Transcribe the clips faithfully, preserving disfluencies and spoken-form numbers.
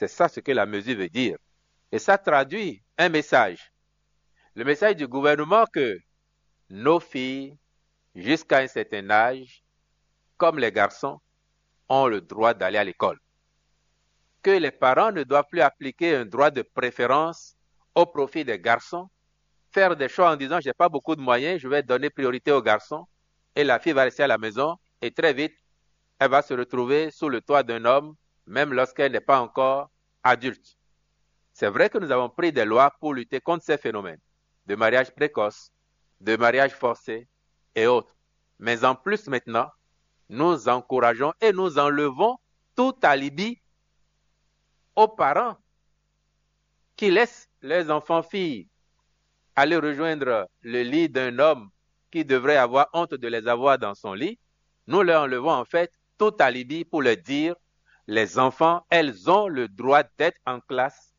C'est ça ce que la mesure veut dire. Et ça traduit un message. Le message du gouvernement que nos filles, jusqu'à un certain âge, comme les garçons, ont le droit d'aller à l'école. Que les parents ne doivent plus appliquer un droit de préférence au profit des garçons, faire des choix en disant j'ai pas beaucoup de moyens, je vais donner priorité aux garçons, et la fille va rester à la maison, et très vite, elle va se retrouver sous le toit d'un homme, même lorsqu'elle n'est pas encore adulte. C'est vrai que nous avons pris des lois pour lutter contre ces phénomènes de mariage précoce, de mariage forcé et autres. Mais en plus maintenant, nous encourageons et nous enlevons tout alibi aux parents qui laissent leurs enfants filles aller rejoindre le lit d'un homme qui devrait avoir honte de les avoir dans son lit. Nous leur enlevons en fait tout alibi pour leur dire, les enfants, elles ont le droit d'être en classe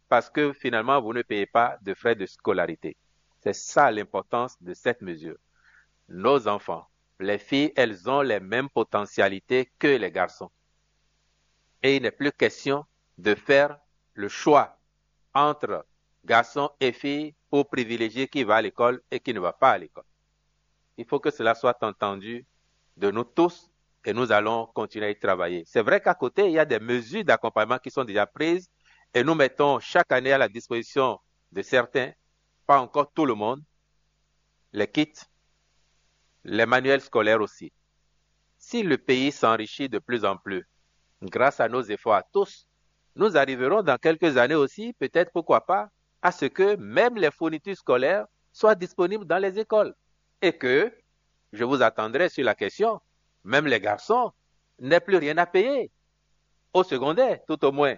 parce que finalement, vous ne payez pas de frais de scolarité. C'est ça l'importance de cette mesure. Nos enfants, les filles, elles ont les mêmes potentialités que les garçons. Et il n'est plus question de faire le choix entre garçons et filles pour privilégier qui va à l'école et qui ne va pas à l'école. Il faut que cela soit entendu de nous tous et nous allons continuer à y travailler. C'est vrai qu'à côté, il y a des mesures d'accompagnement qui sont déjà prises et nous mettons chaque année à la disposition de certains, pas encore tout le monde, les kits, les manuels scolaires aussi. Si le pays s'enrichit de plus en plus, grâce à nos efforts à tous, nous arriverons dans quelques années aussi, peut-être pourquoi pas, à ce que même les fournitures scolaires soient disponibles dans les écoles. Et que, je vous attendrai sur la question, même les garçons n'aient plus rien à payer au secondaire, tout au moins,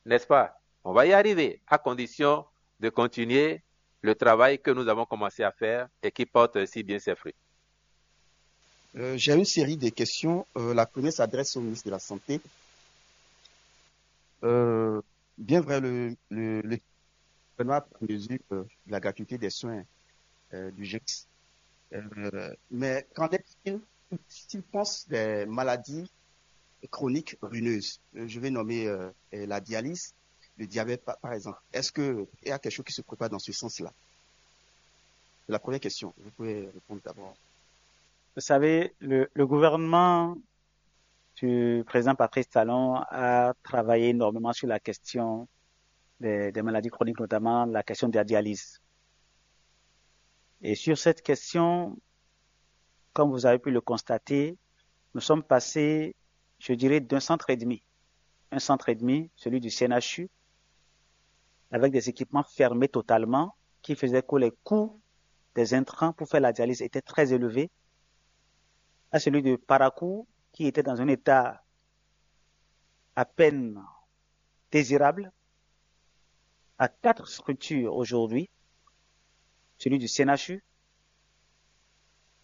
n'est-ce pas? On va y arriver à condition de continuer le travail que nous avons commencé à faire et qui porte si bien ses fruits. Euh, J'ai une série de questions. Euh, la première s'adresse au ministre de la Santé. Euh, bien vrai, le, le, le gouvernement a pris mesure euh, de la gratuité des soins euh, d'urgence. Euh, mais qu'en est-il s'il pense des maladies chroniques ruineuses? Euh, Je vais nommer euh, la dialyse, le diabète par, par exemple. Est-ce qu'il y a quelque chose qui se prépare dans ce sens-là? C'est la première question. Vous pouvez répondre d'abord. Vous savez, le, le gouvernement du président Patrice Talon a travaillé énormément sur la question des, des maladies chroniques, notamment la question de la dialyse. Et sur cette question, comme vous avez pu le constater, nous sommes passés, je dirais, d'un centre et demi. Un centre et demi, celui du C N H U, avec des équipements fermés totalement, qui faisaient que les coûts des intrants pour faire la dialyse étaient très élevés, à celui de Parakou, qui était dans un état à peine désirable, à quatre structures aujourd'hui, celui du C N H U,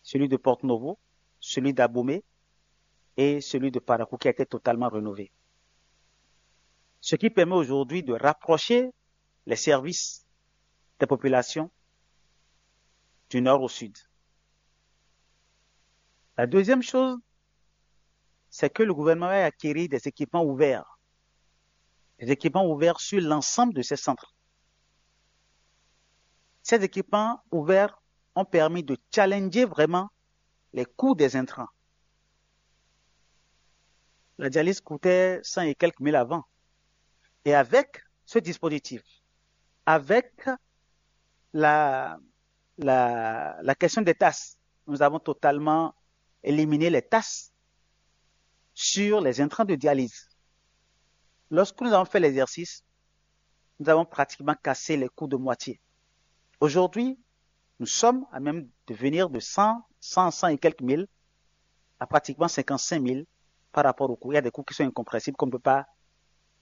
celui de Porto Novo, celui d'Abomey et celui de Parakou qui a été totalement rénové. Ce qui permet aujourd'hui de rapprocher les services des populations du nord au sud. La deuxième chose, c'est que le gouvernement a acquéri des équipements ouverts, des équipements ouverts sur l'ensemble de ces centres. Ces équipements ouverts ont permis de challenger vraiment les coûts des intrants. La dialyse coûtait cent et quelques mille avant. Et avec ce dispositif, avec la, la, la question des taxes, nous avons totalement éliminé les taxes sur les intrants de dialyse. Lorsque nous avons fait l'exercice, nous avons pratiquement cassé les coûts de moitié. Aujourd'hui, nous sommes à même de venir de cent, cent, cent et quelques mille à pratiquement cinquante-cinq mille par rapport au coût. Il y a des coûts qui sont incompressibles qu'on ne peut pas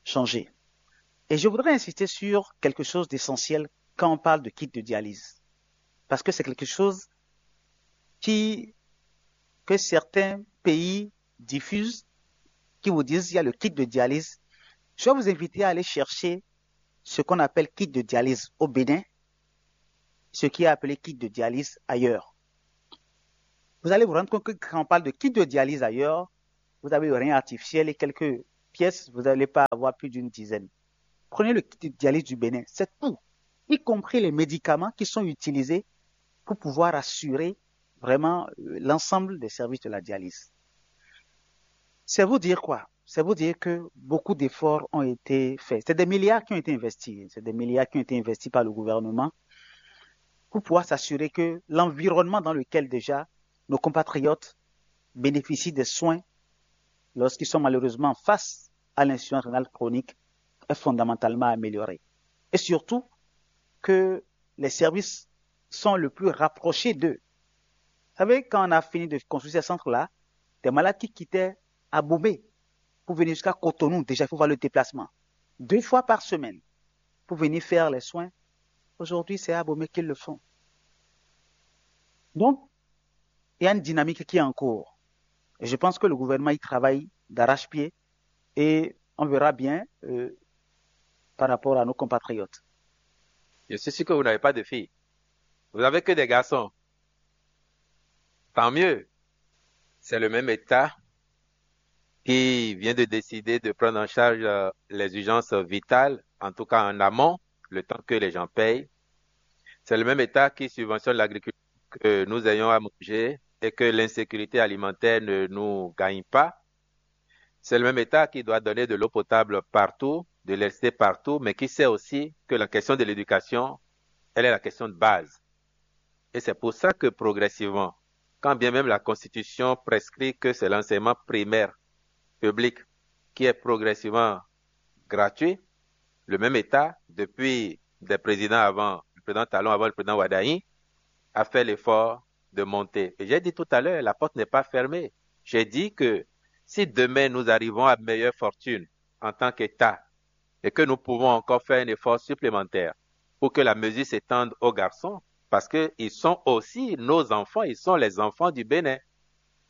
changer. Et je voudrais insister sur quelque chose d'essentiel quand on parle de kit de dialyse. Parce que c'est quelque chose qui, que certains pays diffusent, qui vous disent il y a le kit de dialyse. Je vais vous inviter à aller chercher ce qu'on appelle kit de dialyse au Bénin, ce qui est appelé kit de dialyse ailleurs. Vous allez vous rendre compte que quand on parle de kit de dialyse ailleurs, vous avez rien artificiel et quelques pièces, vous n'allez pas avoir plus d'une dizaine. Prenez le kit de dialyse du Bénin, c'est tout, y compris les médicaments qui sont utilisés pour pouvoir assurer vraiment euh, l'ensemble des services de la dialyse. C'est vous dire quoi? C'est vous dire que beaucoup d'efforts ont été faits. C'est des milliards qui ont été investis. C'est des milliards qui ont été investis par le gouvernement pour pouvoir s'assurer que l'environnement dans lequel déjà nos compatriotes bénéficient des soins lorsqu'ils sont malheureusement face à l'insuffisance rénale chronique est fondamentalement amélioré. Et surtout, que les services sont le plus rapprochés d'eux. Vous savez, quand on a fini de construire ces centres-là, des malades qui quittaient Abomey pour venir jusqu'à Cotonou, déjà, il faut voir le déplacement. Deux fois par semaine pour venir faire les soins. Aujourd'hui, c'est à Abomey qu'ils le font. Donc, il y a une dynamique qui est en cours. Et je pense que le gouvernement y travaille d'arrache-pied et on verra bien euh, par rapport à nos compatriotes. Je suis sûr que vous n'avez pas de filles. Vous n'avez que des garçons. Tant mieux. C'est le même État qui vient de décider de prendre en charge euh, les urgences vitales, en tout cas en amont, le temps que les gens payent. C'est le même État qui subventionne l'agriculture, que nous ayons à manger et que l'insécurité alimentaire ne nous gagne pas. C'est le même État qui doit donner de l'eau potable partout, de l'électricité partout, mais qui sait aussi que la question de l'éducation, elle est la question de base. Et c'est pour ça que progressivement, quand bien même la Constitution prescrit que c'est l'enseignement primaire public qui est progressivement gratuit, le même État, depuis des présidents avant, le président Talon avant le président Wadayi, a fait l'effort de monter. Et j'ai dit tout à l'heure, la porte n'est pas fermée. J'ai dit que si demain nous arrivons à meilleure fortune en tant qu'État et que nous pouvons encore faire un effort supplémentaire pour que la mesure s'étende aux garçons, parce qu'ils sont aussi nos enfants, ils sont les enfants du Bénin.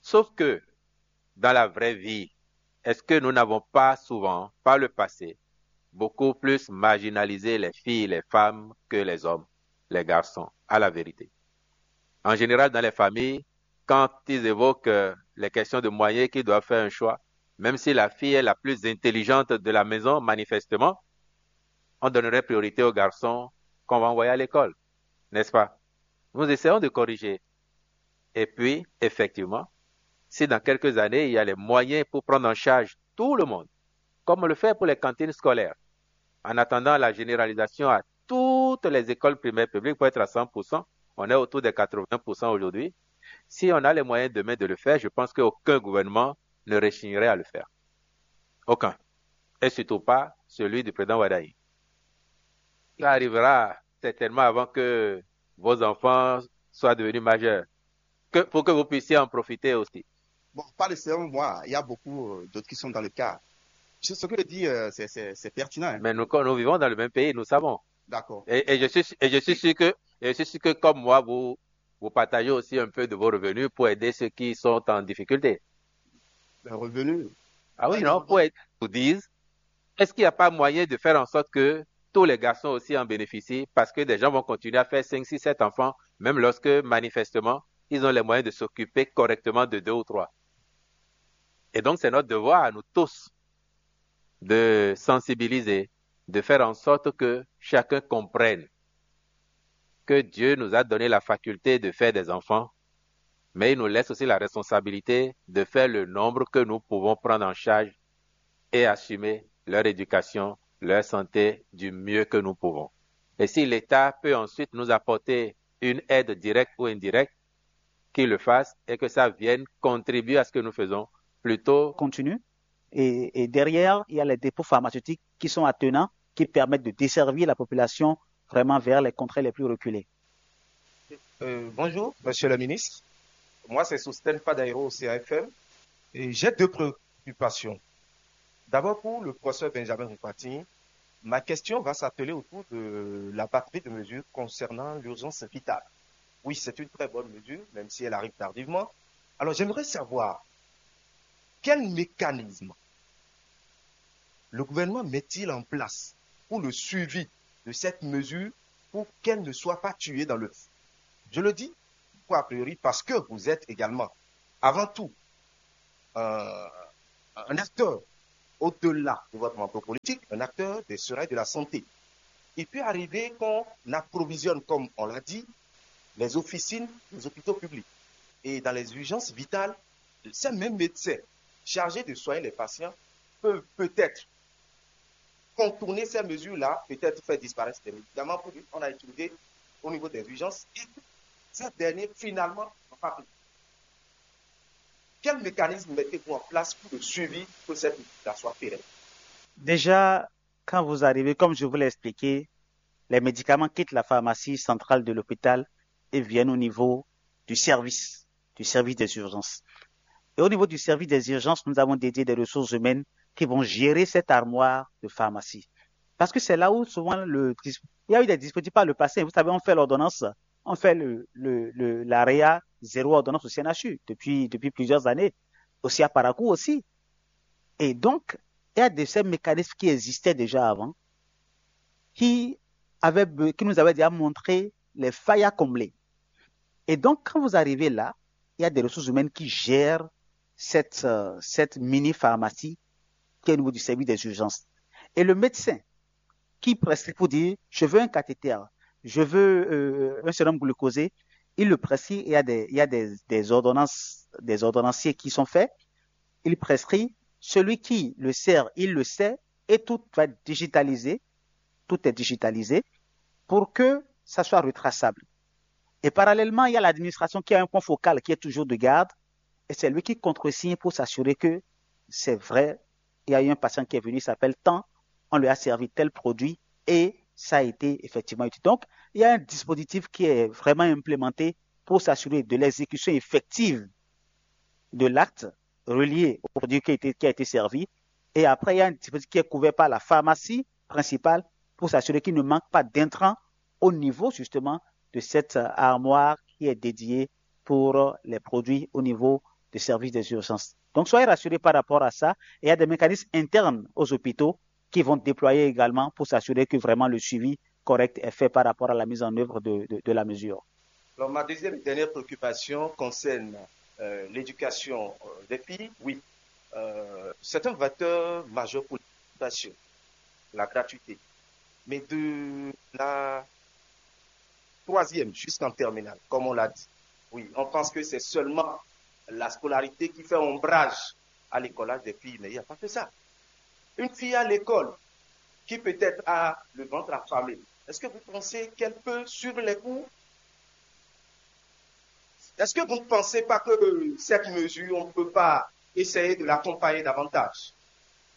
Sauf que dans la vraie vie, est-ce que nous n'avons pas souvent, par le passé, beaucoup plus marginalisé les filles, les femmes que les hommes, les garçons, à la vérité? En général, dans les familles, quand ils évoquent euh, les questions de moyens, qu'ils doivent faire un choix, même si la fille est la plus intelligente de la maison, manifestement, on donnerait priorité aux garçons qu'on va envoyer à l'école, n'est-ce pas? Nous essayons de corriger. Et puis, effectivement, si dans quelques années, il y a les moyens pour prendre en charge tout le monde, comme on le fait pour les cantines scolaires, en attendant la généralisation à toutes les écoles primaires publiques pour être à cent pour cent, on est autour des quatre-vingts pour cent aujourd'hui. Si on a les moyens demain de le faire, je pense qu'aucun gouvernement ne rechignerait à le faire. Aucun. Et surtout pas celui du président Wadayi. Ça arrivera certainement avant que vos enfants soient devenus majeurs, que, pour que vous puissiez en profiter aussi. Bon, pas le seul, moi, il y a beaucoup euh, d'autres qui sont dans le cas. Ce que dit, euh, c'est pertinent. Hein. Mais nous, nous vivons dans le même pays, nous savons. D'accord. Et, et, je suis, et je suis sûr que, et je suis sûr que comme moi, vous, vous partagez aussi un peu de vos revenus pour aider ceux qui sont en difficulté. Les revenus. Ah oui, non, pour aider, vous disent, est-ce qu'il n'y a pas moyen de faire en sorte que tous les garçons aussi en bénéficient, parce que des gens vont continuer à faire cinq, six, sept enfants, même lorsque manifestement, ils ont les moyens de s'occuper correctement de deux ou trois. Et donc, c'est notre devoir à nous tous de sensibiliser, de faire en sorte que chacun comprenne que Dieu nous a donné la faculté de faire des enfants, mais il nous laisse aussi la responsabilité de faire le nombre que nous pouvons prendre en charge et assumer leur éducation, leur santé du mieux que nous pouvons. Et si l'État peut ensuite nous apporter une aide directe ou indirecte, qu'il le fasse et que ça vienne contribuer à ce que nous faisons plutôt. Continue. Et, et derrière, il y a les dépôts pharmaceutiques qui sont attenants, qui permettent de desservir la population vraiment vers les contrées les plus reculées. Euh, bonjour, monsieur le ministre. Moi, c'est Sosten Padairo au C A F M. Et j'ai deux préoccupations. D'abord, pour le professeur Benjamin Rukwati, ma question va s'atteler autour de la batterie de mesures concernant l'urgence vitale. Oui, c'est une très bonne mesure, même si elle arrive tardivement. Alors, j'aimerais savoir quel mécanisme le gouvernement met-il en place pour le suivi de cette mesure pour qu'elle ne soit pas tuée dans le... Je le dis, pourquoi a priori? Parce que vous êtes également, avant tout, euh, un acteur au-delà de votre manteau politique, un acteur des soins et de la santé. Il peut arriver qu'on approvisionne, comme on l'a dit, les officines, les hôpitaux publics. Et dans les urgences vitales, ces mêmes médecins chargés de soigner les patients peuvent peut-être contourner ces mesures-là, peut-être faire disparaître des médicaments qu'on a utilisés au niveau des urgences et que ces derniers, finalement, n'ont pas pris. Quel mécanisme mettez-vous en place pour le suivi, pour que cette étude-là soit pérenne? Déjà, quand vous arrivez, comme je vous l'ai expliqué, les médicaments quittent la pharmacie centrale de l'hôpital et viennent au niveau du service, du service des urgences. Et au niveau du service des urgences, nous avons dédié des ressources humaines qui vont gérer cette armoire de pharmacie. Parce que c'est là où souvent le, il y a eu des dispositifs par le passé. Vous savez, on fait l'ordonnance, on fait le, le, le, l'AREA zéro ordonnance au C N H U depuis, depuis plusieurs années, aussi à Parakou aussi. Et donc, il y a de ces mécanismes qui existaient déjà avant, qui, avaient, qui nous avaient déjà montré les failles à combler. Et donc, quand vous arrivez là, il y a des ressources humaines qui gèrent cette, euh, cette mini-pharmacie qui est au niveau du service des urgences. Et le médecin qui prescrit pour dire, je veux un cathéter, je veux euh, un sérum glucosé, il le prescrit, il y a, des, il y a des, des, ordonnances, des ordonnanciers qui sont faits, il prescrit, celui qui le sert, il le sait, et tout va être digitalisé, tout est digitalisé, pour que ça soit retraçable. Et parallèlement, il y a l'administration qui a un point focal qui est toujours de garde, et c'est lui qui contresigne pour s'assurer que c'est vrai, il y a eu un patient qui est venu, il s'appelle tant, on lui a servi tel produit et ça a été effectivement utile. Donc, il y a un dispositif qui est vraiment implémenté pour s'assurer de l'exécution effective de l'acte relié au produit qui a été, qui a été servi. Et après, il y a un dispositif qui est couvert par la pharmacie principale pour s'assurer qu'il ne manque pas d'intrants au niveau justement de cette armoire qui est dédiée pour les produits au niveau des services des urgences. Donc, soyez rassurés par rapport à ça. Et il y a des mécanismes internes aux hôpitaux qui vont déployer également pour s'assurer que vraiment le suivi correct est fait par rapport à la mise en œuvre de, de, de la mesure. Alors, ma deuxième et dernière préoccupation concerne euh, l'éducation euh, des filles. Oui, euh, c'est un vecteur majeur pour l'éducation, la gratuité. Mais de la troisième jusqu'en terminale, comme on l'a dit, oui, on pense que c'est seulement la scolarité qui fait ombrage à l'écolage des filles, mais il n'y a pas que ça. Une fille à l'école qui peut-être a le ventre affamé, est-ce que vous pensez qu'elle peut suivre les cours? Est-ce que vous ne pensez pas que cette mesure, on ne peut pas essayer de l'accompagner davantage?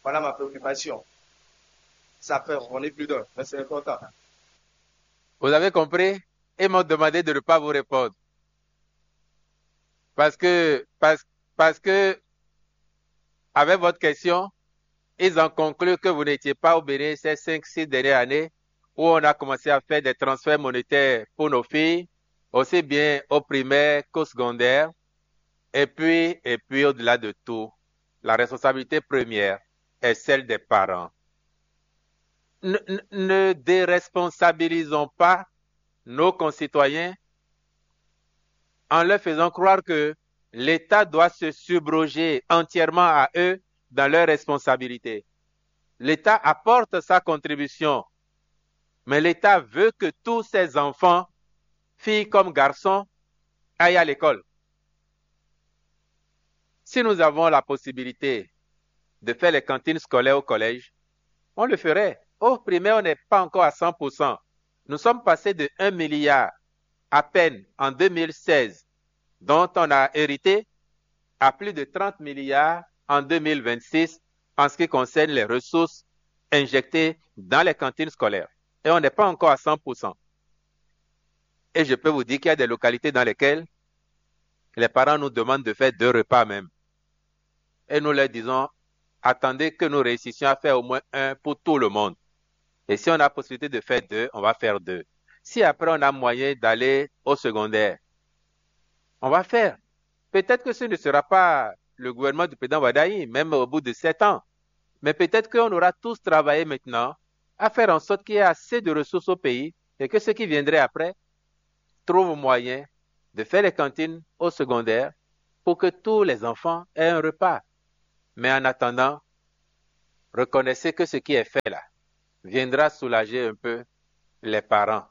Voilà ma préoccupation. Ça fait ronronner plus d'un, mais c'est important. Vous avez compris? Ils m'ont demandé de ne pas vous répondre. Parce que, parce, parce que, avec votre question, ils ont conclu que vous n'étiez pas au Bénin ces cinq, six dernières années où on a commencé à faire des transferts monétaires pour nos filles, aussi bien au primaire qu'au secondaire. Et puis, et puis au-delà de tout, la responsabilité première est celle des parents. Ne, ne déresponsabilisons pas nos concitoyens en leur faisant croire que l'État doit se subroger entièrement à eux dans leurs responsabilités. L'État apporte sa contribution, mais l'État veut que tous ses enfants, filles comme garçons, aillent à l'école. Si nous avons la possibilité de faire les cantines scolaires au collège, on le ferait. Au primaire, on n'est pas encore à cent pour cent. Nous sommes passés de un milliard à peine en deux mille seize, dont on a hérité, à plus de trente milliards en deux mille vingt-six en ce qui concerne les ressources injectées dans les cantines scolaires. Et on n'est pas encore à cent pour cent. Et je peux vous dire qu'il y a des localités dans lesquelles les parents nous demandent de faire deux repas même. Et nous leur disons, attendez que nous réussissions à faire au moins un pour tout le monde. Et si on a possibilité de faire deux, on va faire deux. Si après on a moyen d'aller au secondaire, on va faire. Peut-être que ce ne sera pas le gouvernement du président Wadaï, même au bout de sept ans. Mais peut-être qu'on aura tous travaillé maintenant à faire en sorte qu'il y ait assez de ressources au pays et que ceux qui viendraient après trouvent moyen de faire les cantines au secondaire pour que tous les enfants aient un repas. Mais en attendant, Reconnaissez que ce qui est fait là viendra soulager un peu les parents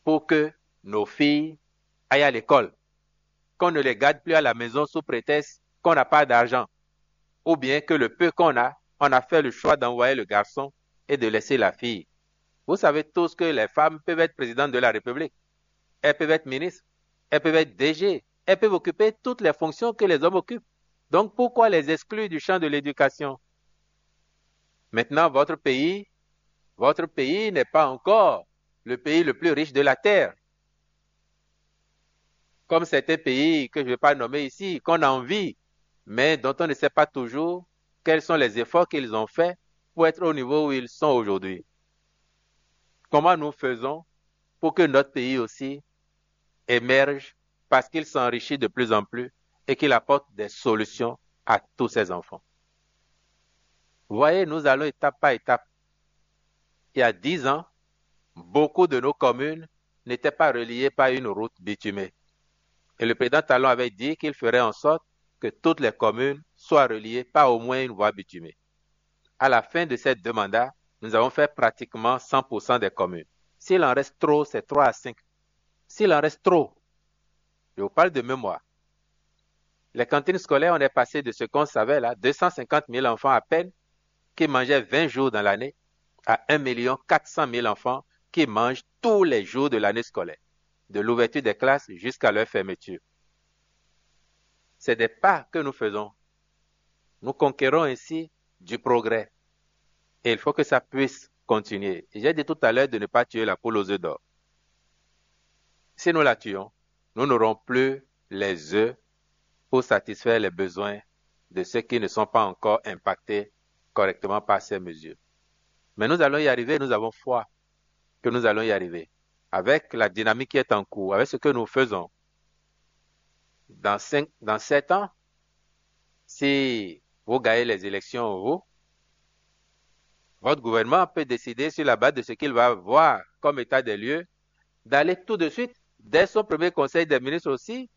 pour que nos filles aillent à l'école, qu'on ne les garde plus à la maison sous prétexte qu'on n'a pas d'argent, ou bien que le peu qu'on a, on a fait le choix d'envoyer le garçon et de laisser la fille. Vous savez tous que les femmes peuvent être présidentes de la République, elles peuvent être ministres, elles peuvent être D G, elles peuvent occuper toutes les fonctions que les hommes occupent. Donc pourquoi les exclure du champ de l'éducation? Maintenant, votre pays, votre pays n'est pas encore le pays le plus riche de la terre. Comme certains pays que je ne vais pas nommer ici, qu'on a envie, mais dont on ne sait pas toujours quels sont les efforts qu'ils ont faits pour être au niveau où ils sont aujourd'hui. Comment nous faisons pour que notre pays aussi émerge parce qu'il s'enrichit de plus en plus et qu'il apporte des solutions à tous ses enfants? Voyez, nous allons étape par étape. Il y a dix ans, beaucoup de nos communes n'étaient pas reliées par une route bitumée. Et le président Talon avait dit qu'il ferait en sorte que toutes les communes soient reliées par au moins une voie bitumée. À la fin de ces deux mandats, nous avons fait pratiquement cent pour cent des communes. S'il en reste trop, c'est trois à cinq. S'il en reste trop, je vous parle de mémoire. Les cantines scolaires, on est passé de ce qu'on savait là, deux cent cinquante mille enfants à peine qui mangeaient vingt jours dans l'année, à un million quatre cent mille enfants qui mangent tous les jours de l'année scolaire, de l'ouverture des classes jusqu'à leur fermeture. C'est des pas que nous faisons. Nous conquérons ainsi du progrès. Et il faut que ça puisse continuer. J'ai dit tout à l'heure de ne pas tuer la poule aux œufs d'or. Si nous la tuons, nous n'aurons plus les œufs pour satisfaire les besoins de ceux qui ne sont pas encore impactés correctement par ces mesures. Mais nous allons y arriver, nous avons foi que nous allons y arriver. Avec la dynamique qui est en cours, avec ce que nous faisons, dans, cinq, dans sept ans, si vous gagnez les élections, vous, votre gouvernement peut décider sur la base de ce qu'il va voir comme état des lieux, d'aller tout de suite, dès son premier conseil des ministres aussi,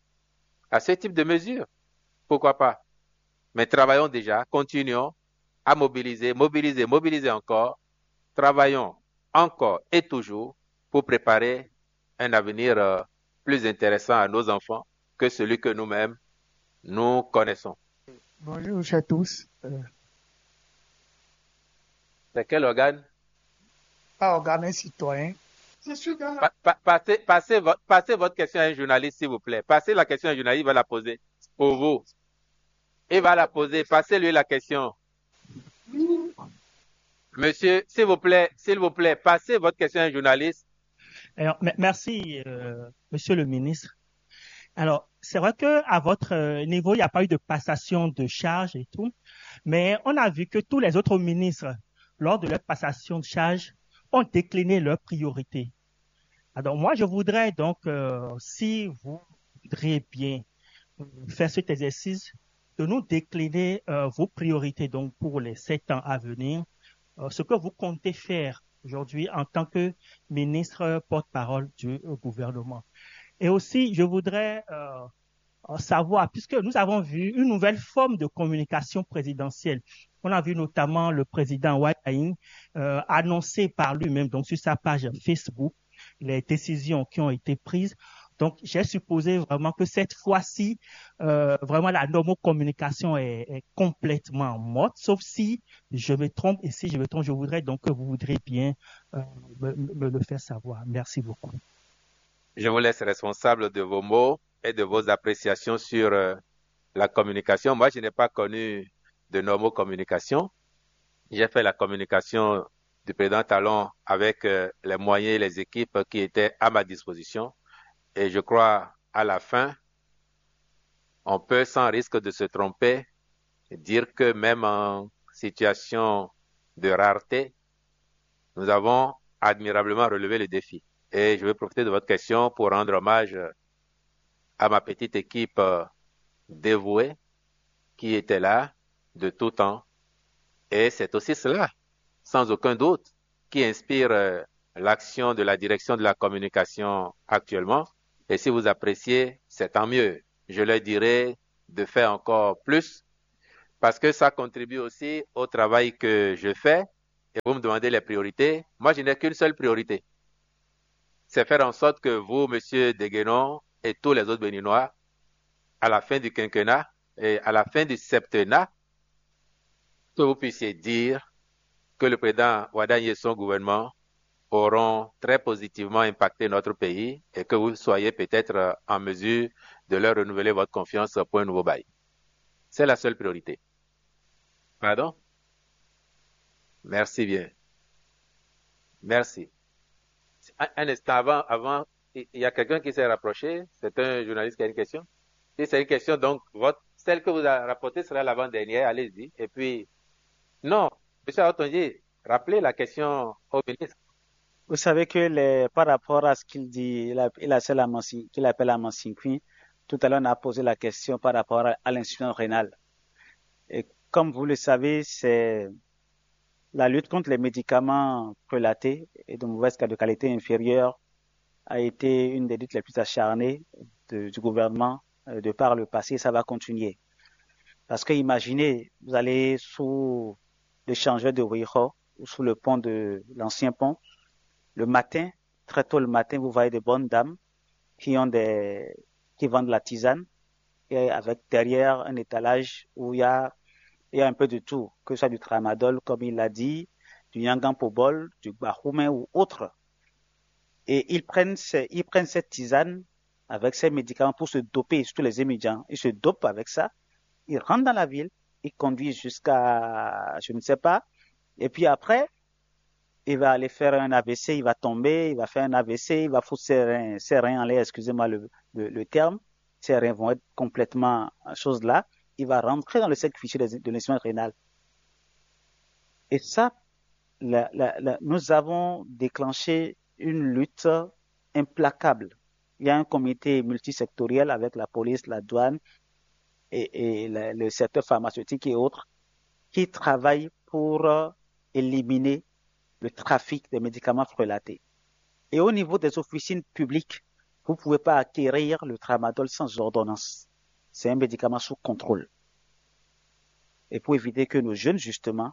à ce type de mesures. Pourquoi pas? Mais travaillons déjà, continuons à mobiliser, mobiliser, mobiliser encore. Travaillons encore et toujours pour préparer un avenir euh, plus intéressant à nos enfants que celui que nous-mêmes, nous connaissons. Bonjour à tous. Euh, C'est quel organe? Pas organe citoyen. Pa- pa- passez, passez vo- passez votre question à un journaliste, s'il vous plaît. Passez la question à un journaliste, il va la poser pour vous. Il va la poser. Passez-lui la question. Monsieur, s'il vous plaît, s'il vous plaît, passez votre question à un journaliste. Alors, me- merci, euh, monsieur le ministre. Alors, c'est vrai que à votre euh, niveau, il n'y a pas eu de passation de charge et tout, mais on a vu que tous les autres ministres, lors de leur passation de charge, ont décliné leurs priorités. Alors, moi, je voudrais donc, euh, si vous voudriez bien euh, faire cet exercice, de nous décliner euh, vos priorités donc pour les sept ans à venir, euh, ce que vous comptez faire aujourd'hui en tant que ministre porte-parole du euh, gouvernement. Et aussi, je voudrais euh, euh, savoir, puisque nous avons vu une nouvelle forme de communication présidentielle. On a vu notamment le président Wai Aing euh, annoncer par lui-même, donc sur sa page Facebook, les décisions qui ont été prises. Donc, j'ai supposé vraiment que cette fois-ci, euh, vraiment la normocommunication est, est complètement morte, sauf si je me trompe. Et si je me trompe, je voudrais donc que vous voudrez bien euh, me, me le faire savoir. Merci beaucoup. Je vous laisse responsable de vos mots et de vos appréciations sur euh, la communication. Moi, je n'ai pas connu de normocommunication. J'ai fait la communication du président Talon avec euh, les moyens et les équipes qui étaient à ma disposition. Et je crois, à la fin, on peut, sans risque de se tromper, dire que même en situation de rareté, nous avons admirablement relevé le défi. Et je vais profiter de votre question pour rendre hommage à ma petite équipe euh, dévouée qui était là de tout temps. Et c'est aussi cela, sans aucun doute, qui inspire euh, l'action de la direction de la communication actuellement. Et si vous appréciez, c'est tant mieux. Je leur dirai de faire encore plus parce que ça contribue aussi au travail que je fais. Et vous me demandez les priorités. Moi, je n'ai qu'une seule priorité. C'est faire en sorte que vous, monsieur Deguénon, et tous les autres Béninois, à la fin du quinquennat et à la fin du septennat, que vous puissiez dire que le président Wadagni et son gouvernement auront très positivement impacté notre pays et que vous soyez peut-être en mesure de leur renouveler votre confiance pour un nouveau bail. C'est la seule priorité. Pardon? Merci bien. Merci. Un, un instant avant, avant, il y a quelqu'un qui s'est rapproché. C'est un journaliste qui a une question. Si c'est une question, donc, votre, celle que vous avez rapportée sera l'avant-dernière. Allez-y. Et puis, non, monsieur Aotonji, rappelez la question au ministre. Vous savez que les, par rapport à ce qu'il dit, il a, il a celle à Mansi-, qu'il appelle à Mansinqui. Tout à l'heure, on a posé la question par rapport à, à l'insuffisance rénale. Et comme vous le savez, c'est la lutte contre les médicaments prélatés et de mauvaise qualité, de qualité inférieure a été une des luttes les plus acharnées de, du gouvernement euh, de par le passé. Ça va continuer. Parce que imaginez, vous allez sous l'échangeur de Weyho ou sous le pont de l'ancien pont. Le matin, très tôt le matin, vous voyez des bonnes dames qui ont des, qui vendent la tisane et avec derrière un étalage où il y a, il y a un peu de tout, que ce soit du tramadol, comme il l'a dit, du yangan pobol, du gbahoumé ou autre. Et ils prennent, ces, ils prennent cette tisane avec ces médicaments pour se doper, surtout les étudiants. Ils se dopent avec ça, ils rentrent dans la ville, ils conduisent jusqu'à, je ne sais pas, et puis après, il va aller faire un A V C, il va tomber, il va faire un A V C, il va foutre ses reins, ses reins en l'air, excusez-moi le, le, le terme, ses reins vont être complètement chose là, il va rentrer dans le cercle vicieux de l'insuffisance rénale. Et ça, la, la, la, nous avons déclenché une lutte implacable. Il y a un comité multisectoriel avec la police, la douane et, et le, le secteur pharmaceutique et autres qui travaillent pour euh, éliminer le trafic des médicaments frelatés. Et au niveau des officines publiques, vous ne pouvez pas acquérir le tramadol sans ordonnance. C'est un médicament sous contrôle. Et pour éviter que nos jeunes, justement,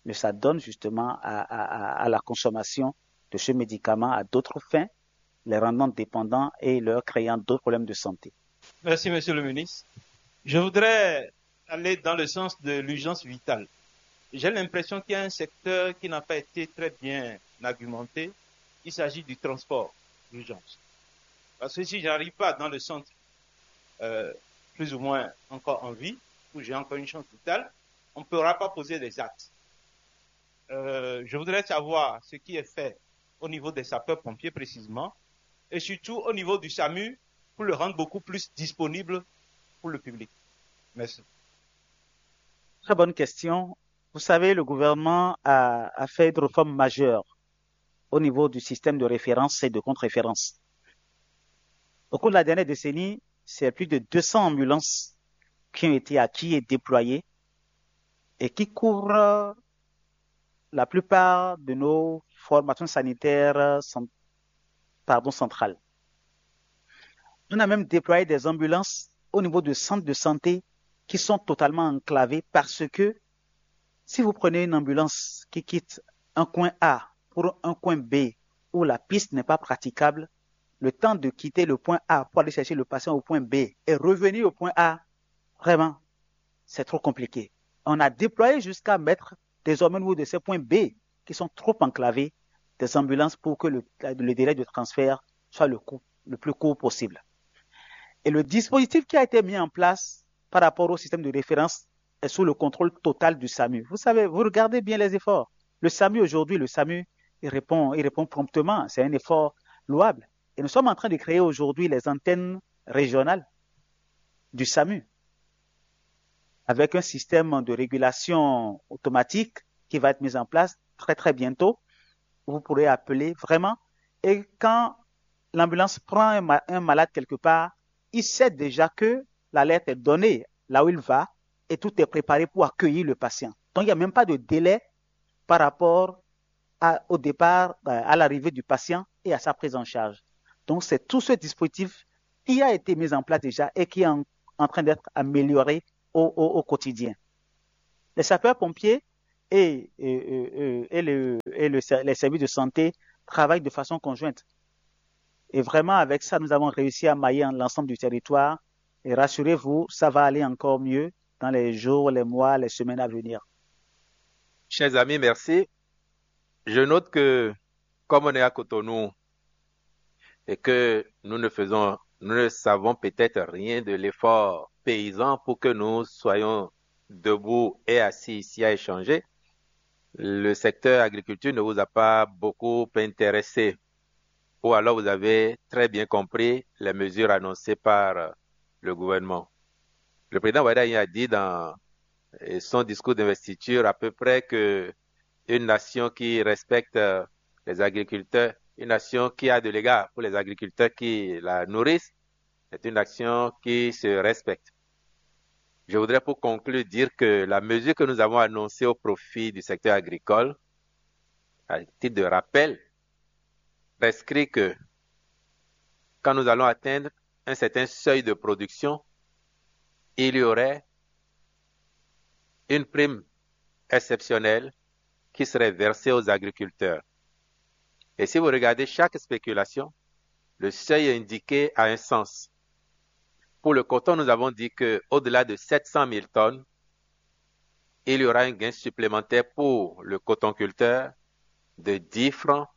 ne s'adonnent justement à, à, à la consommation de ce médicament à d'autres fins, les rendant dépendants et leur créant d'autres problèmes de santé. Merci, monsieur le ministre. Je voudrais aller dans le sens de l'urgence vitale. J'ai l'impression qu'il y a un secteur qui n'a pas été très bien argumenté. Il s'agit du transport d'urgence. Parce que si je n'arrive pas dans le centre euh, plus ou moins encore en vie, où j'ai encore une chance vitale, on ne pourra pas poser des actes. Euh, je voudrais savoir ce qui est fait au niveau des sapeurs-pompiers précisément, et surtout au niveau du SAMU, pour le rendre beaucoup plus disponible pour le public. Merci. Très bonne question. Vous savez, le gouvernement a, a fait une réforme majeure au niveau du système de référence et de contre-référence. Au cours de la dernière décennie, c'est plus de deux cents ambulances qui ont été acquises et déployées et qui couvrent la plupart de nos formations sanitaires cent- pardon, centrales. On a même déployé des ambulances au niveau de centres de santé qui sont totalement enclavés parce que si vous prenez une ambulance qui quitte un coin A pour un coin B où la piste n'est pas praticable, le temps de quitter le point A pour aller chercher le patient au point B et revenir au point A, vraiment, c'est trop compliqué. On a déployé jusqu'à mettre désormais au niveau de ces points B qui sont trop enclavés des ambulances pour que le, le délai de transfert soit le, coup, le plus court possible. Et le dispositif qui a été mis en place par rapport au système de référence est sous le contrôle total du SAMU. Vous savez, vous regardez bien les efforts. Le SAMU aujourd'hui, le SAMU, il répond, il répond promptement. C'est un effort louable. Et nous sommes en train de créer aujourd'hui les antennes régionales du SAMU avec un système de régulation automatique qui va être mis en place très très bientôt. Vous pourrez appeler vraiment. Et quand l'ambulance prend un, ma- un malade quelque part, il sait déjà que l'alerte est donnée là où il va et tout est préparé pour accueillir le patient. Donc il n'y a même pas de délai par rapport à- au départ, euh, à l'arrivée du patient et à sa prise en charge. Donc c'est tout ce dispositif qui a été mis en place déjà et qui est en, en train d'être amélioré au, au- au quotidien. Les sapeurs-pompiers et, et, et, et le, et le, les services de santé travaillent de façon conjointe. Et vraiment, avec ça, nous avons réussi à mailler l'ensemble du territoire. Et rassurez-vous, ça va aller encore mieux dans les jours, les mois, les semaines à venir. Chers amis, merci. Je note que, comme on est à Cotonou, et que nous ne faisons, nous ne savons peut-être rien de l'effort paysan pour que nous soyons debout et assis ici à échanger, le secteur agriculture ne vous a pas beaucoup intéressé. Ou alors vous avez très bien compris les mesures annoncées par le gouvernement. Le président Wadayi a dit dans son discours d'investiture à peu près que une nation qui respecte les agriculteurs, une nation qui a de l'égard pour les agriculteurs qui la nourrissent, c'est une nation qui se respecte. Je voudrais pour conclure dire que la mesure que nous avons annoncée au profit du secteur agricole, à titre de rappel, prescrit que quand nous allons atteindre un certain seuil de production, il y aurait une prime exceptionnelle qui serait versée aux agriculteurs. Et si vous regardez chaque spéculation, le seuil indiqué a un sens. Pour le coton, nous avons dit que au-delà de sept cent mille tonnes, il y aura un gain supplémentaire pour le cotonculteur de dix francs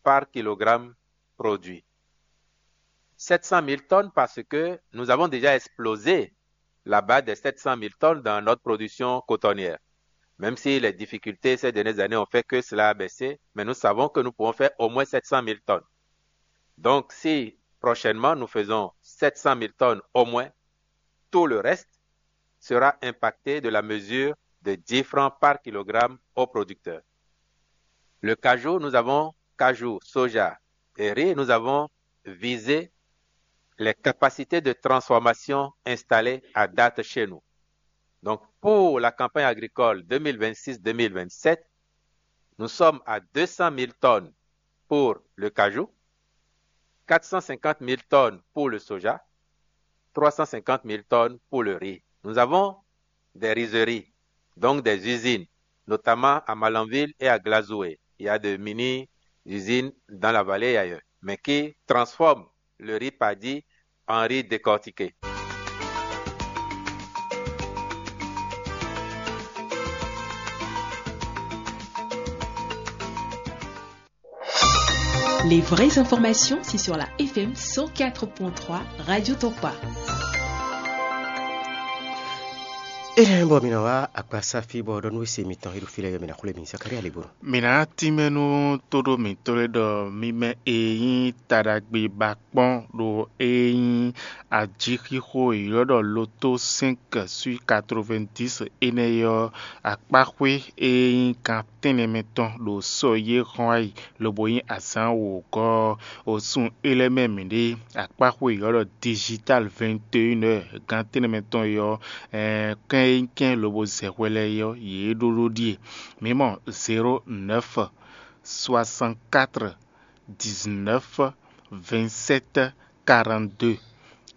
par kilogramme produit. Sept cent mille tonnes parce que nous avons déjà explosé la barre des sept cent mille tonnes dans notre production cotonnière. Même si les difficultés ces dernières années ont fait que cela a baissé, mais nous savons que nous pouvons faire au moins sept cent mille tonnes. Donc, si prochainement nous faisons sept cent mille tonnes au moins, tout le reste sera impacté de la mesure de dix francs par kilogramme au producteur. Le cajou, nous avons cajou, soja et riz, nous avons visé les capacités de transformation installées à date chez nous. Donc, pour la campagne agricole deux mille vingt-six deux mille vingt-sept, nous sommes à deux cent mille tonnes pour le cajou, quatre cent cinquante mille tonnes pour le soja, trois cent cinquante mille tonnes pour le riz. Nous avons des rizeries, donc des usines, notamment à Malanville et à Glazoué. Il y a de mini-usines dans la vallée et ailleurs, mais qui transforment le riz paddy en riz décortiqué. Les vraies informations, c'est sur la F M cent quatre point trois Radio Topa. Énɛ́ bɔ mi nɔ wá akpasáfí bɔ ɖɔ nú wěse mitɔn e ɖo fí lɛ́ɛ ɔ́, mi ná xwlé mi Zakaria Ligbonu. Mi ná tínmɛ nú tóɖó mǐtɔn lɛ́ɛ ɖɔ mímɛ́ e nyí taɖagbe ba kpɔ́n ɖo e nyí ajixixo e ylɔ́ ɖɔ loto cinq sui quatre-vingt-dix énɛ́ ɔ́, akpáxwé e nyí kan tɛ́nnɛ mɛ tɔn ɖo sɔ yé xɔ́n wá yi lobo nyí azǎn wǒgɔ́ ɔ́, o sun é lɛ́ɛ mɛ mǐɖée. Akpáxwé e ylɔ́ ɖɔ digital vingt et une heures gán tɛ́nnɛ mɛ tɔn é ɔ́, kɛ́n e nyí kɛ́n lobo zɛ hwɛ lɛ́ɛ é ɔ́, yě ɖó ɖó ɖíe. Mǐ mɔ zéro neuf soixante-quatre dix-neuf vingt-sept quarante-deux,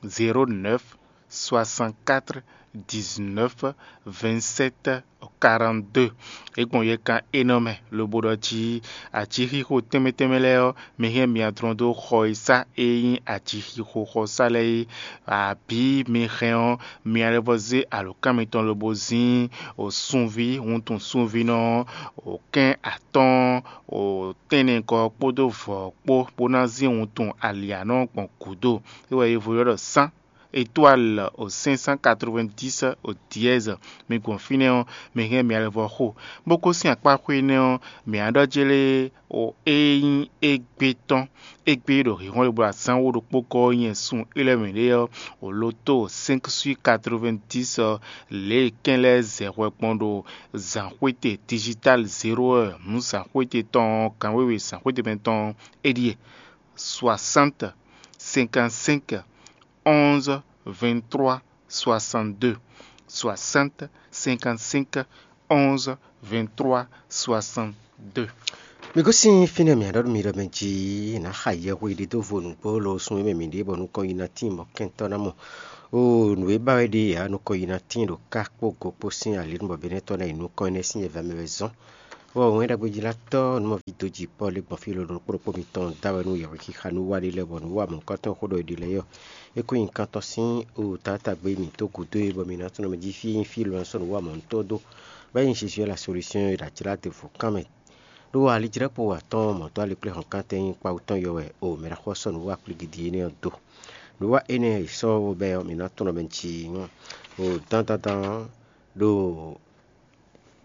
zéro neuf soixante-quatre dix-neuf vingt-sept quarante-deux. É gbɔn yɛkan énɔ́ mɛ lobo ɖɔ jí ajixixo tɛnmɛ tɛnmɛ lɛ́ɛ ɔ́, mi hɛn mia dlɔ́n dó xɔ e sá e nyí ajixixo xɔsá lɛ́ɛ é, abǐ mi hɛn ɔ́, mi lɛ́ vɔ zé alǒkan mitɔn lobo zín sunví, wuntun sunvínɔ ɔ́, kɛ́n atɔ́ɔ́n tɛ́nnɛgɔ́ kpódó vɔ̌ kpó, bó ná zín wuntun alianɔ gbɔn gǔdo. É wɛ è ylɔ́ ɖɔ sán. Étoile au cinq cent quatre-vingt-dix au dièse. Mi gbɔn fínɛ́ ɔ́, mi hɛn mi alɛvɔ xo, bó gosín akpáxwé énɛ́ ɔ́, mi á ɖɔ jlé o e nyí égbé tɔn. Égbé ɖo hǐnhɔ́n e bló azǎn wó ɖokpó gɔ́ ɔ́ nyɛ sun élɔ́ mǐɖée ɔ́, o loto cinq sui quatre-vingt-dix ɔ́, lě e kɛn lɛ́ɛ zɛ hwɛ gbɔn ɖo zǎnxwéte digital zéro heure nǔ zǎnxwéte tɔn ɔ́, kan wěwe zǎnxwéte mɛ tɔn ɔ́, é ɖíe: soixante cinquante-cinq onze vingt-trois soixante-deux, soixante cinquante-cinq onze vingt-trois soixante-deux. Mi gosín fínɛ́ mǐ á ɖɔ nú mi ɖɔ mɛ jí nǎ xa yɛhwe ɖé dó vo nǔgbó lo sun e mɛ mǐ ɖe bɔ nukɔn yi ná tín mɔ̌ kɛntɔ́ ná mɔ. Oo, nǔ e ba wɛ ɖe ǎ, nukɔn yi ná tíin ɖo ká kpó go kpó sín ali nú bɔ Benɛ́tɔ́ ná yi nukɔn énɛ́ sín nyɛ̌vɛ́ mɛ wɛ zɔ́n. Bɔ wɛnɖagbe jí ná tɔ́ nú mɔví dó ji Pɔ́lu e gbɔn fí lolo ɖokpó ɖokpó mitɔn da wɛ nú yɛhwexixa nú wa ɖé lɛ́ɛ, bɔ nǔ wa mɔ̌hunkɔtɔn e xó ɖɔ è ɖe lɛ́ɛ ɔ́, é kó nyi nukɔntɔn sín oo taátagbe mǐtɔn gúdo e bɔ mǐ ná tunɔ mɛ jí fí e nyí fí e è nɔ sɔ́ nǔ wa mɔ̌huntɔn dó, bɔ é nyí Jezu la solúsyɔn e ɖo ajlǎ ɖěvo kan mɛ. Ɖó alijlɛ́kpo atɔ́ɔ́n mɔ̌ dó alikpléhɔ̌nkántɛn e nyí kpawú tɔn yɔ wɛ o mɛ ɖaxó ɔ́ sɔ́ nǔ wa kplígídí énɛ́ ɔ́ dó. Nǔ wa énɛ́ e è sɔ́ bɛ́ ɔ́, mǐ ná tunɔ mɛ jí nyɔ́ o dandandan ɔ́ ɖo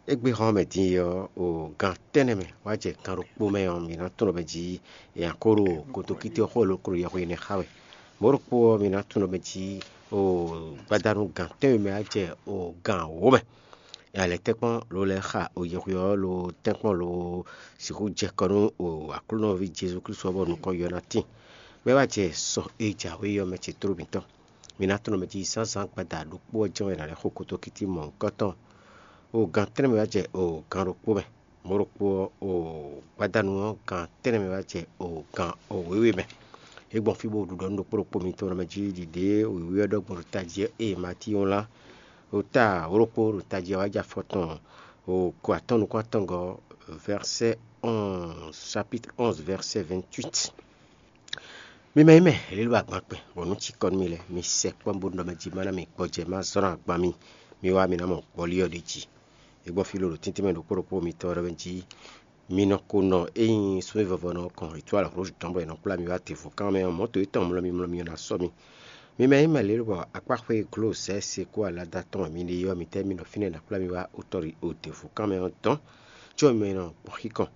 égbé xɔ́n mɛ din é ɔ́, o gan tɛ́nnɛ mɛ wá jɛ gan ɖokpó mɛ ɔ́, mǐ ná tunɔ mɛ jí è nǎ kó ɖo kotokíté ɔ́ xó e lǒ ko ɖo yɛhwe énɛ́ xa wɛ. Mɔ̌ ɖokpó ɔ́, mǐ ná tunɔ mɛ jí o gbadanu gan tɛ́nwe mɛ wá jɛ o gan wǒ mɛ. Alɛ tɛ́nkpɔ́n ló lɛ́ xa o yɛhwe ɔ́ lo tɛ́nkpɔ́n lo sixú jɛ kɔ nú o Aklúnɔví Jezu Klísu ɔ́, bɔ nukɔn yɔ ná tíin. Bɔ é wá jɛ sɔ e jǎwe ɔ́ mɛ ce tló mǐtɔn. Mi ná tunɔ mɛ jí zǎnzǎn gbada ɖokpó ɔ́ jɛ́n wɛ è nǎ lɛ́ xo kotokíti mɔ̌hunkɔtɔn. O gan tɛ́nnɛ mɛ wá jɛ o gan ɖokpó mɛ. Mɔ̌ ɖokpó ɔ́, o gbadanu ɔ́, gan tɛ́nnɛ mɛ wá jɛ o gan o wěwe mɛ. É gbɔn fí bó ɖu ɖɔ nú ɖokpó ɖokpó mitɔn mɛ jí ɖiɖě wěwé ɔ́ ɖɔ gbɔn ɖo tají ɔ́, ée Matíyu wlán ɖo ta wǒ ɖokpó ɖo tají ɔ́ wá jɛ afɔ tɔn o ko atɔ́ɔ́n nukún atɔngɔ́, vɛrsɛ́ onze, chapitre onze, vɛrsɛ́ vingt-huit. Mi mɛ nyí mɛ lě ɖo agban kpɛn, bɔ nǔ cikɔ nú mi lɛ́ɛ, mi sɛkpɔ́ bónú ɖɔ mɛ jí má ná mi gbɔjɛ́ má zɔ́n agban mi, mi wá mi ná mɔ gbɔlí ɔ́ ɖ'é jí. É gbɔn fí ló ɖo tɛ́ntin mɛ ɖokpó ɖokpó mitɔn ɔ́ ɖɔ mɛ jí mi nɔ ko nɔ é nyí súnmí vɔvɔ nɔ kɔn étoile rouge tɔn bɔ è nɔ kplá mi wá tevɔkan mɛ ɔ́, mɔ̌to étɔn mlɔ́ mi mlɔ́ mi ɔ́ ná sɔ́ mi. Mi mɛ nyí mɛ lě bɔ akpáxwé glǒ sɛ́ se kó alada tɔn mǐ ɖe ɔ́, mitɛ́ mi nɔ fínɛ́ ná kplá mi wá utɔ́ ɖi o tevɔkan mɛ ɔ́ dɔn, có mi nɔ gbɔn xíkɔn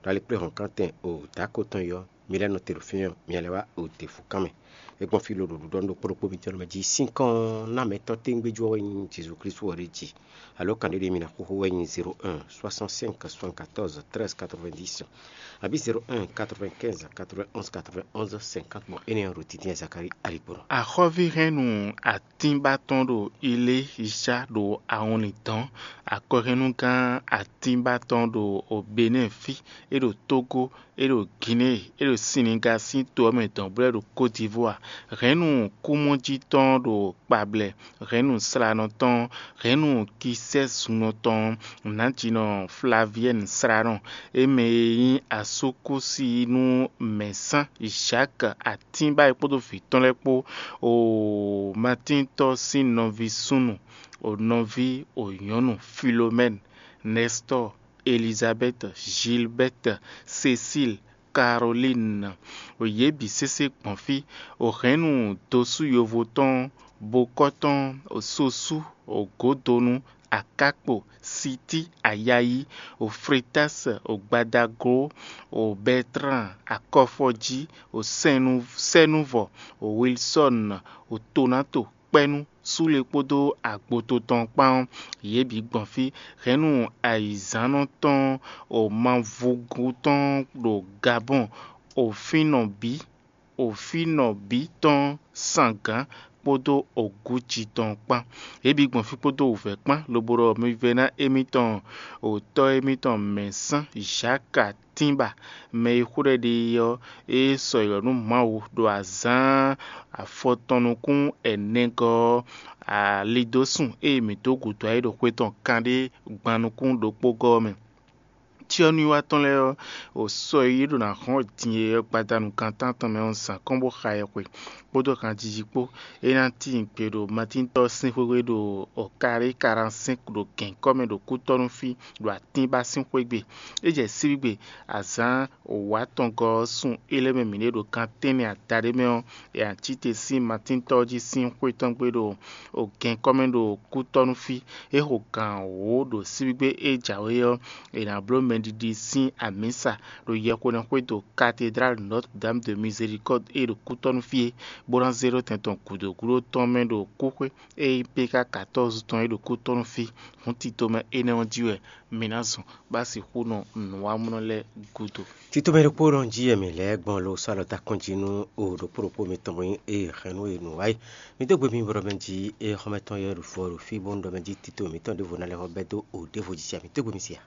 ɖo alikpléhɔ̌nkántɛn o dǎko tɔn yi ɔ́, mi lɛ́ nɔ te ɖo fínɛ́ ɔ́, mi lɛ́ wá o tevɔkan mɛ. É gbɔn fí ló ɖo ɖuɖɔ nú ɖokpó ɖokpó mitɔn mɛ jí sín kɔn ná mɛtɔ́ téngbéjú ɔ́ wɛ nyí Jezu Klísu ɔ́ ɖe jí. Alo kan ɖé ɖé mi ná xóxó wɛ nyí zéro un, soixante-cinq, soixante-quatorze, treize, quatre-vingt-dix, abǐ zéro un, quatre-vingt-quinze, quatre-vingt-onze, quatre-vingt-onze, cinquante. Bɔ énɛ́ ɔ́ ɖo títí Zakalíi aligbɔnɔ. Axɔ́ví hɛn nu atínba tɔn ɖo Ilé Ica ɖo awɔnlin dɔn. Akɔhɛnnugán atínba tɔn ɖo Benɛ́ɛ fí, é ɖo Tógó, é ɖo Ginée, é ɖo Siniga sín to ɔ́ mɛ dɔn, bó lɛ́ ɖo Côte d'Ivoire. Hɛ̌nnu kúmɔjí tɔn ɖo Kpablɛ, hɛ̌nnu slanɔ tɔn, hɛ̌nnu kisɛ́zunnɔ tɔn, nǎjínɔ Flaviɛ́ni slanɔ, é mɛ e nyí asúkúsi nú mɛ̌sán Jǎk atínba é kpódó vǐ tɔn lɛ́ɛ kpó, o Matíntɔ́ sín nɔví súnnu, o nɔví o nyɔ̌nu Filomɛ́ni, Nɛstɔ́ɔ, Elizabɛ́ti, Jilbɛ́ti, Sesíl, Karolín, o yě bǐ sésé gbɔn fí, o hɛ̌nnu dosú yovo tɔn, bokɔ́ tɔn, o sosú, o gǒdonu, akákpo, sití, ayayí, o Fretási, o gbadaglo, o Bɛtlán, akɔfɔjí, o sɛ́nú sɛ́núvɔ, o Wilsɔ́ni, o Tonáto, kpɛ́nú, súle kpódó agboto tɔn kpán ɔ́, yě bǐ gbɔn fí. Hɛ̌nnu ayǐzǎnnɔ tɔn, o mavúgú tɔn ɖo Gabɔ́n, o fínɔ bǐ, o fínɔ bǐ tɔn sangǎn kpódó ogúji tɔn kpán. Yě bǐ gbɔn fí kpódó wǔvɛ́ kpán, lobo ɖɔ mi vɛ́ ná émítɔn, o tɔ́ émítɔn mɛ̌sán Jǎka tínba, mɛ e xó ɖɔ ɖe ɔ́, é sɔ́ yi lɔ̌ nú Mawu ɖo azǎn afɔtɔn nukún ɛnɛgɔ́ ɔ́, alidósun e mǐ dó gǔdo ayé ɖo xwé tɔn kanɖé gban nukún ɖokpó gɔ́ ɔ́ mɛ. Cyɔ́núwiwa tɔn lɛ́ɛ ɔ́, o sɔ́ e yě ɖo ná hɔn din e ɔ́ gbadanu gan tántɔn mɛ ɔ́ zǎn kɔn bó xa yɛhwe kpódó hanjiji kpó. É ná tíin gbe ɖo Matíntɔ́ sín xwéxwé ɖo Ɔkarí Karansɛ́n ɖo gɛ̌nkɔ́ mɛ ɖo kútɔ́nú fí ɖo atínba sín xwé gbe. É jɛ síbígbe azǎn wǎtɔngɔ́ ɔ́ sun é lɛ́ mɛ mǐ ɖe ɖo gan tɛ́nnɛ adaɖé mɛ ɔ́, è nǎ cí te sín Matíntɔ́ jí sín xwé tɔn gbe ɖo gɛ̌nkɔ́ mɛ ɖo kútɔ́nú fí. É xo gǎn wǒ ɖo síbígbe e jǎwe ɔ́, è nǎ bló mɛɖiɖi sín amǐsa ɖo yɛhweɖɛxwé ɖo Cathédrale Notre-Dame de Miséricorde e ɖo kútɔ́nú fí é, bó ná zé ɖó tɛn tɔn gǔdo gúdo tɔn mɛ ɖo kúxwé e nyí P K quatorze tɔn e ɖo kútɔ́nú fí. Hǔn tito mɛ énɛ́ ɔ́ jí wɛ mǐ ná zɔn bó ná sixú nɔ nǔwamlɔ́ lɛ́ɛ gúdo. Tito mɛ ɖokpó nɔ jí wɛ mǐ lɛ́ɛ gbɔn lo sɔ́ alɔ ta kɔn jí nú o ɖokpó ɖokpó mitɔn bɔ nyí e hɛn nú e nǔ wa é. Mi dó gbe mi bɔ ɖɔ mɛ jí e xɔmɛ tɔn yɛ ɖo fɔ ɖo fí bónú ɖɔ mɛ jí tito mǐtɔn ɖěvo ná lɛ xɔ bɛ́ dó o ɖěvo jí sia. Mi dó gbe mi sia.